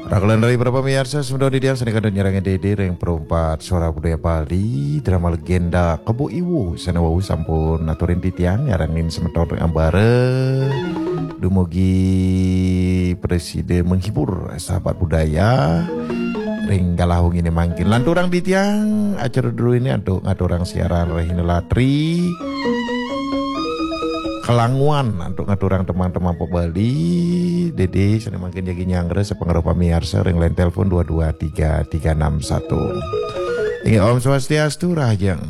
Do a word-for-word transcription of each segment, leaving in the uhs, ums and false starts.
Rakelan rai para pamiarsa, semeton titiang sané kantun nyarengin Dédé ring Perumpat Suara Budaya Bali, drama legenda Kebo Iwo sané wau sampun aturin titiang nyarengin semeton ring ambara. Dumugi prasida menghibur sahabat budaya ring galah wenginé mangkin. Lanturang titiang acara druéné antuk ngaturang siaran rahina latri. Kalanguan antuk ngaturang teman-teman pop Bali, Dédé sané mangkin jagi nyanggra sapangrauh pamiarsa ring line telepon dua dua tiga tiga enam satu. Inggih, Om Swastiastu, rahajeng.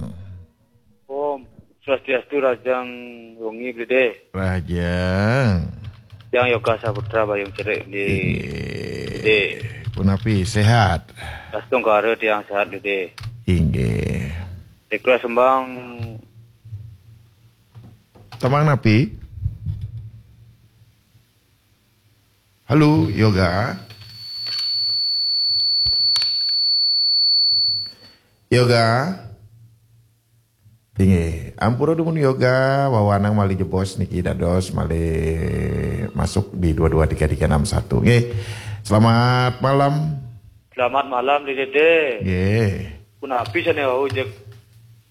Om Swastiastu, rahajeng wengi, Dédé. Rahajeng. Tiang Yoga Saputra Bayung Cerik, Dédé. Inggih. Dédé. Punapi, sehat? Astungkara tiang sehat, Dédé. Inggih. Request tembang. Tembang napi? Halo, Yoga. Yoga. Inggih, ampura dumun Yoga, wawanang malih jebos niki dados malih masuk di dua dua tiga tiga enam satu. Nggih. Selamat malam. Selamat malam, Dédé. Nggih. Punapi sané wau jeg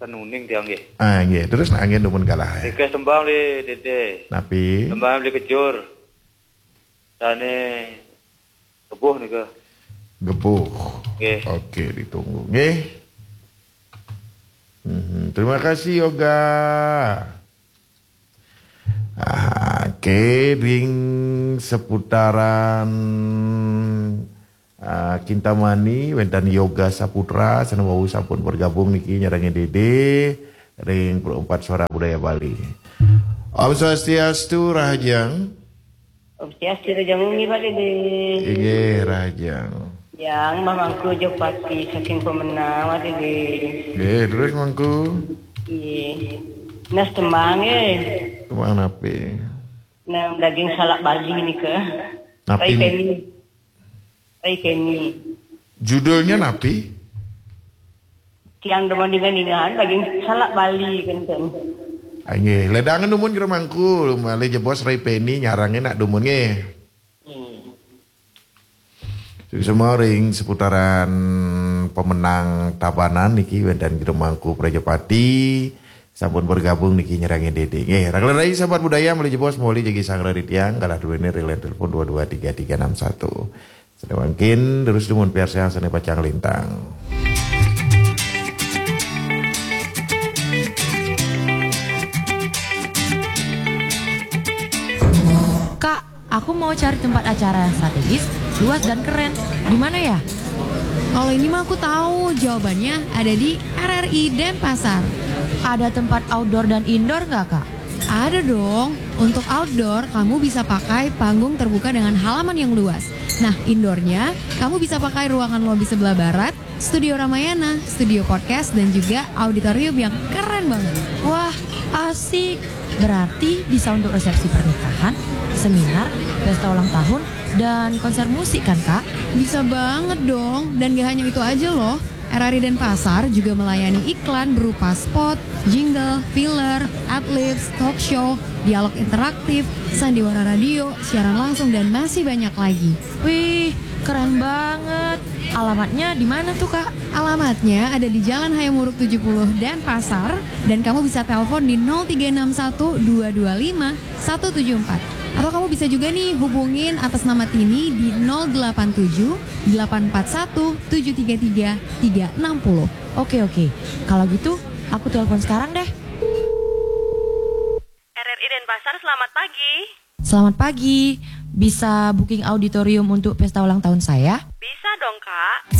sanuning tiang nggih. Ah, nggih. Terus nak nggih dumun galah. Request tembang, Dédé. Napi? Tembang Beli Kejur. Sané Gebuh nika. Gebuh. Nggih. Oke, ditunggu. Nggih. Mhm, terima kasih, Yoga. Ah, oke, ring seputaran, ah, Kintamani, wénten Yoga Saputra, sané wau sampun bergabung niki nyarengin Dédé ring Perumpat Suara Budaya Bali. Om Swastiastu, rahajeng. Om Swastiastu, rahajeng wengi, Pak Dédé. Inggih, rahajeng. Yang mamangku Jopati saking Pemenang, Pak Dédé. Nggih, terus mangku? Nggih. Nah, tembang, nggih. Tembang napi? Nah, daging salak Bali nika. Napi? Rai Peni. Rai Peni. Judulnya napi? Tiang demen dengan-dengan daging salak Bali kenten. Ah, nggih, ledangan dumun kira mangku, malih jebos Rai Peni nyarengin nak dumun nggih. Hmm. Suksma ring seputaran Pemenang Tabanan niki wénten kira mangku Prajapati sampun bergabung niki nyarengin Dédé. Nggih, rakelan rai sahabat budaya malih jebos malih jagi sanggra ri tiang galah druéné ring line telepon dua dua tiga tiga enam satu. Sané mangkin terus dumun piarsayang sané pacang lintang. Kak, aku mau cari tempat acara yang strategis, luas dan keren. Di mana ya? Kalau ini mah aku tahu, jawabannya ada di R R I Denpasar. Ada tempat outdoor dan indoor nggak, Kak? Ada dong. Untuk outdoor, kamu bisa pakai panggung terbuka dengan halaman yang luas. Nah, indoornya, kamu bisa pakai ruangan lobi sebelah barat, studio Ramayana, studio podcast, dan juga auditorium yang keren banget. Wah, asik. Berarti bisa untuk resepsi pernikahan, seminar, pesta ulang tahun, dan konser musik kan, Kak? Bisa banget dong. Dan gak hanya itu aja loh. R R I Denpasar juga melayani iklan berupa spot, jingle, filler, adlibs, talk show, dialog interaktif, sandiwara radio, siaran langsung, dan masih banyak lagi. Wih, keren banget. Alamatnya di mana tuh, Kak? Alamatnya ada di Jalan Hayamuruk tujuh puluh Denpasar, dan kamu bisa telepon di nol tiga enam satu dua dua lima satu tujuh empat. Atau kamu bisa juga nih hubungin atas nama Tini di nol delapan tujuh delapan empat satu tujuh tiga tiga tiga enam nol. Oke, oke. Kalau gitu, aku telepon sekarang deh. R R I Denpasar, selamat pagi. Selamat pagi. Bisa booking auditorium untuk pesta ulang tahun saya? Bisa dong, Kak.